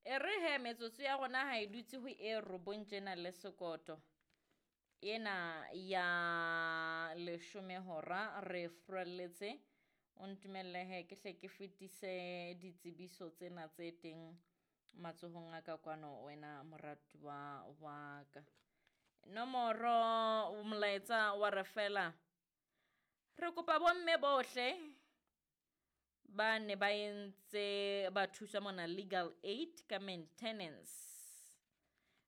E re he metsotso ya rona ha e dutse ho e robong tjena le sekoto ena ya leshome hora re furalletse. O ntumelle he ke hle ke fetise ditsebiso tsena tse teng matsohong a ka kwano wena moratuwa wa ka. Nomoro molaetsa wa re fela re kopa bomme bohle ba ne ba entse ba thuswa mona legal aid ka maintenance.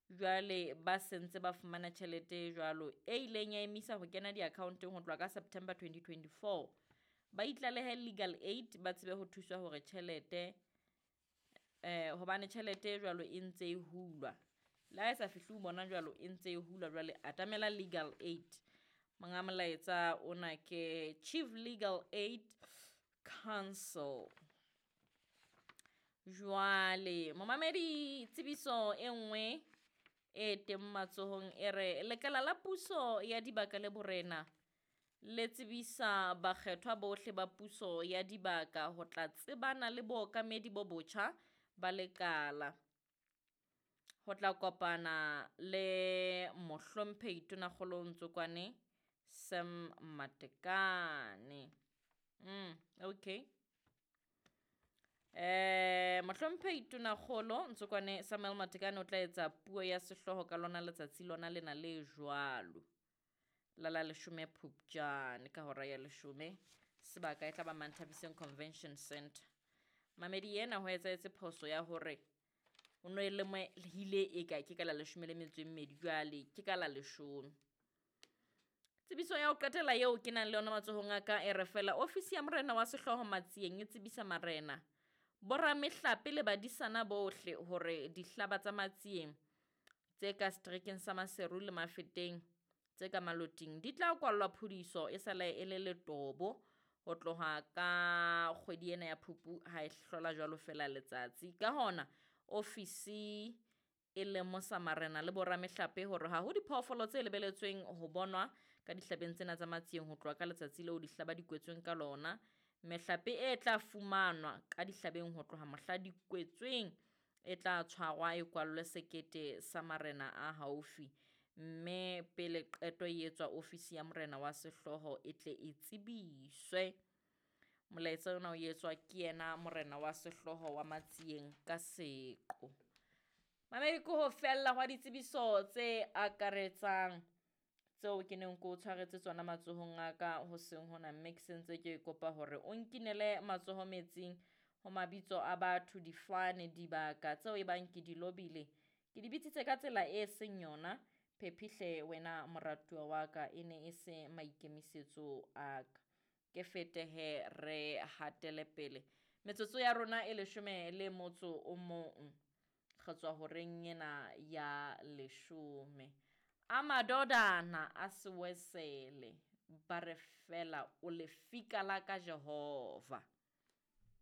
Jwale ba sentse ba fumana tjhelete jwalo e ileng ya emisa ho kena di-account-eng ho tloha ka September 2024. Ba itlalehe legal aid ba tsebe ho thuswa hore tjhelete hobane tjhelete e jwalo e ntse e hulwa. Le ha e sa fihle ho bona jwalo e ntse e hulwa jwale atamela legal aid. Monga molaetsa ona ke Chief Legal Aid Council. Jwale momamedi tsebiso e nngwe e teng matsohong e re lekala la puso ya dibaka le borena le tsebisa bakgethwa bohle ba puso ya dibaka ho tla tsebana le bookamedi bo botjha ba lekala. Ho tla kopana le mohlomphehi Tonakgolo Ntsokwane Sam Matekane. Okay. Mohlomphehi Tonakgolo Ntsokwane Samuel Matekane o tla etsa puo ya sehlooho ka lona letsatsi lona lena le jwalo. La la leshome Phupjane ka hora ya leshome. Sebaka e tla ba Manthabiseng Convention Center. Mamedi ena ho etsahetse phoso ya hore o no e lemohile e ka ke ka la leshome le metso e mmedi jwale ke ka la leshome. Tsebiso ya ho qetela eo ke nang le yona matsohong a ka e re fela ofisi ya morena wa sehlooho Matsieng e tsebisa marena, boramehlape le badisana bohle hore dihlaba tsa Matsieng tse ka seterekeng sa Maseru le Mafeteng tse ka Maloting di tla kwallwa phudiso e sale e le letobo ho tloha ka kgwedi ena ya Phupu ha e hlola jwalo fela letsatsi. Ka hona ofisi e lemosa marena le boramehlape hore ha ho diphoofolo tse lebeletsweng ho bonwa ka dihlabeng tsena tsa Matsieng ho tloha ka letsatsi leo dihlaba di kwetsweng ka lona. Mehlape e tla fumanwa ka dihlabeng ho tloha mohla di kwetsweng e tla tshwarwa e kwallwe sekete sa marena a haufi, mme pele qeto e etswa ofisi ya morena wa sehlooho e tle e tsebiswe. Molaetsa ona o etswa ke yena morena wa sehlooho wa Matsieng ka seqo. Mamedi ke ho fella hwa ditsebiso tse akaretsang tseo ke neng ke o tshwaretse tsona matsohong a ka hoseng hona, mme ke sentse ke kopa hore o nkinele matsoho metsing ho mabitso a batho, difane, dibaka tseo e bang ke di lobile. Ke di bitsitse ka tsela e seng yona. Phephihle wena moratuwa wa ka, e ne e se maikemisetso a ka. Ke fete he re hatele pele. Metsotso ya rona e leshome le motso o mong. Re tswa horeng ena ya leshome. A madodana a sewesele ba re fela o lefika la ka Jehova.